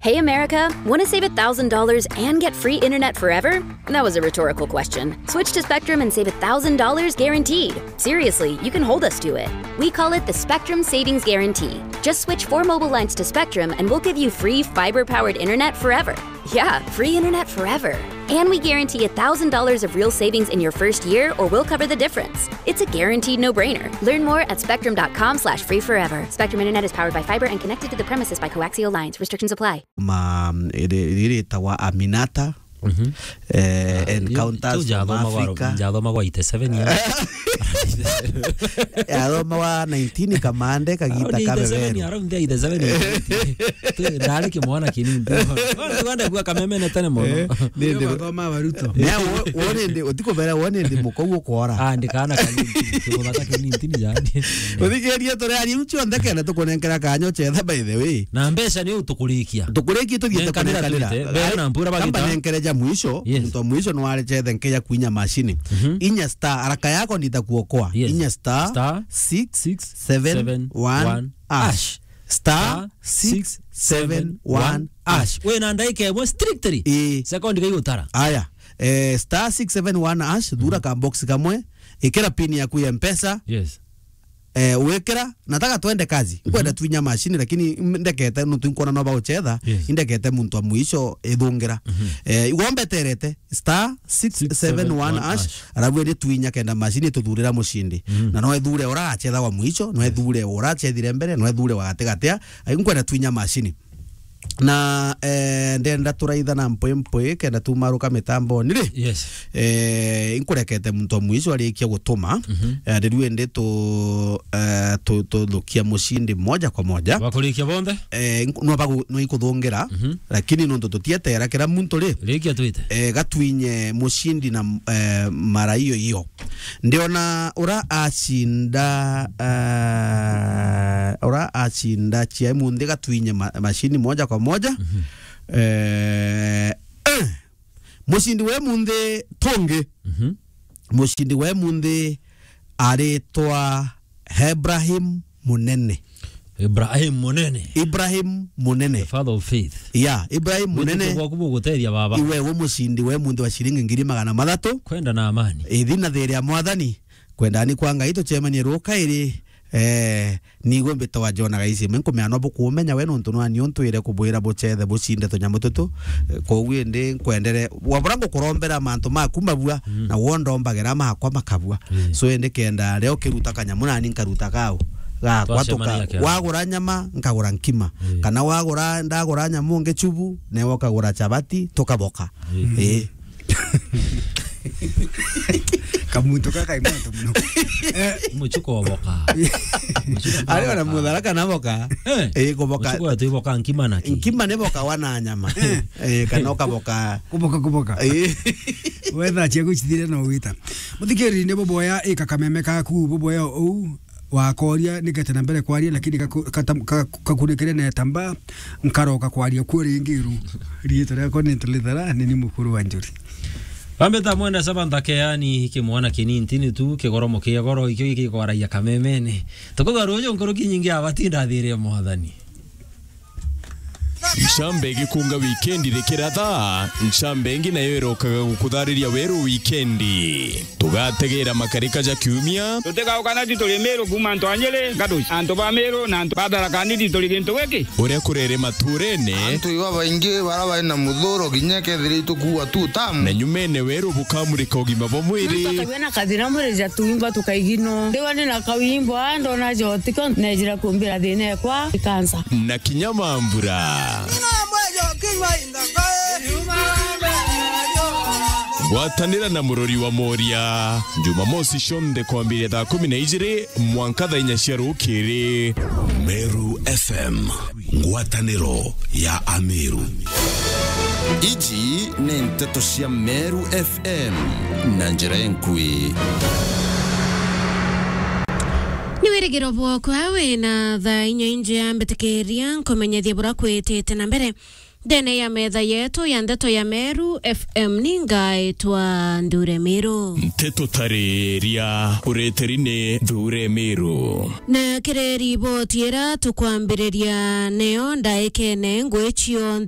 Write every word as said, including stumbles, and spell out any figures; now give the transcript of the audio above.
Hey, America, want to save a thousand dollars and get free internet forever? That was a rhetorical question. Switch to Spectrum and save a thousand dollars guaranteed. Seriously, you can hold us to it. We call it the Spectrum Savings Guarantee. Just switch four mobile lines to Spectrum and we'll give you free fiber powered internet forever. Yeah, free internet forever. And we guarantee a thousand dollars of real savings in your first year, or we'll cover the difference. It's a guaranteed no-brainer. Learn more at spectrum dot com slash free forever. Spectrum Internet is powered by fiber and connected to the premises by coaxial lines. Restrictions apply. Ma, iri-, iri-, ritagwa Aminata, eh, Encounters from Africa. Njathomagwa eighty-seven years. Yathomagwa nineteen kamande kagita kabeberu. Around eighty-seven, around eighty-seven, eighty-eight. Tu-, ndari kimwana kinini. Wanda kuwa kamemene tene mono. Eh, ni-, ni-, Ugathoma Baruto. Ni a wo-, wone ndi, utikubera wone ndi mukou ukora. Ah, ndikana kanini, kimuthaka kinini yani. Uthikiria turi ari ucio ndekene tukunenkera kanyo chetha, by the way. Na mbeca ni utukurikia. Tukurikie tuthiite kunenkanira. Nenkanira. Twite, mbeca na mpura bagita. Kamba nenkere ja mwisho, yes, muntu wa mwisho no arechethe nkeja kwinya mashini. Mhm. Inya star, haraka yako nitakuokoa. Yes. Inya star, star six seven one hash. Star six seven one hash. Wina ndaika imwe strictly. Ii. Sekondi gaigutara. Aya. Eh, star six seven one hash, thura ka box kamwe, ikira pin yaku ya Mpesa. Yes. Eh, wikira, nataka twende kazi. Nkwenda twinya mashini, lakini ndekete, nuntu nkwona no bauchetha, yes, indekete muntu wa mwisho ithungira. Eh, igombeterete, star six seven one hash, alafu ende twinya kenda mashini ituthurira mushindi. Mm. Na no ithure ura achetha wa mwisho, no ithure ura achethire mbere, no ithure wa gatigatia. Ai, nkwenda twinya mashini. Na, eh, ndenda turaitha na mpwi mpwi, kenda tumaruka mitamboni ri? Yes. Eh, inkurekete muntu wa mwisho arikia gutuma. Mhm. Eh, riu indi tu, eh, tu, tuthukia mushindi moja kwa moja. Bakurikia bonthe? Eh, nku-, no bagu-, no ikuthungira, mhm, lakini nontu tutietera kira muntu ri? Rikia twite. Eh, gatwinye mushindi na, eh, mara iyo iyo. Ndiona ura acinda, eh, ura acinda cia imunthi gatwinye ma-, mashini moja kwa moja. Mhm. Eh, eh, mucindi wa imunthi tungi. Mhm. Mucindi wa imunthi aritwa Ibrahim Munene. Ibrahim Munene. Ibrahim Munene. The father of faith. Yeah, Ibrahim Munene. Witiko bwaku bugutethia, baba. Iwe we mucindi wa imunthi wa ciringi ngiri magana mathatu. Kwenda na amani. Ithi na thiri ya Mwathani. Kwenda ni kwa Ngai tucemanie rukairi. Eh, nigwe mbitagwa Jona Gaicime, nkumea no bukumenya we nontu nani untwire kubwira bucethe bucinde tunyamu tutu. Eh, koguo indi nkwendere, wabura ngukurombera mantu maku mabua, mm, na wo ndombagira makwa makabua. Mm. So indi kenda rio kiruta kanyamu nani nkaruta gau. Gakwa tuka-, wagura nyama, nkagura nkima. Mm. Kana wagura, ndagura nyamu ngichubu, newe ukagura chabati, tukaboka. Mm. Eh. Kamuntu ka kai moto muno. Eh. Muchuko wa boka. Ari ona muthara kana boka. Eh. Eh, kuboka. Muchuko wa tu boka nkima na ki? Nkima ni boka wa na nyama. Eh. Eh, kana ukaboka. Kuboka, kuboka. Eh. Wetha cia gucithire no wita. Muthikiri ni buboya ika kameme kaku, buboya ou. Wakoria, nigete na mbere kwaria, lakini gaku-, gata-, ga-, gakunekere na etamba, nkaroka kwaria kuo ringi ru. Riitwa riakwa ni Ntilithera, ni ni mukuru wa Njuri. Bambeta mwenda saba nthake, yani, kimwana kinini tu, kigoro mukia goro, ikio gikikwaragia kamemene. Tukuga ruju nkuruki nyingi abatinda thiri ya Mwathani. Ncamba igikunga wikendi rikiratha, ncamba ingi nayo irokaga gukuthariria weru wikendi. Tugategera makarika ja kiumia. Tutigaukana ti turi Miru kuuma antu a Nyiri, Ngatuci, antu ba Miru na antu ba Tharaka Nithi turi gintu giki. Uria kurere maturene. Antu iba baingi bara bari na muthuro kinya kethira itukuua tu tamu. Na nyumene weru bukamurika ugima bwa mwiri. Muntu akagua na kathina mwiri ja tuimba tukaigino. Ndigwa ni na kawimbo, a ndona jotiko, nejira kumbira thina ekwa ikansa. Na kinya mambura. Ngwatanira na Murori wa Moria, Jumamosi cionthe kwambiria thaa kumi na ijiri mwanka thaa inya cia rukiri. Meru F M, ngwataniro ya Ameru. Iji ni nteto cia Meru F M na njira enkui. Ni wirigiro bwakwa wina thaa inya injia mbitikiria nkumenyethie bura kwitite na mbere. Ndene ya metha yetu ya ndeto ya Meru F M ni ngaitwa Nthure Miru. Nteto tariria ureteri ni Nthure Miru. Na kiri riboti ira tukwambiriria niyo ndaikene ngwicio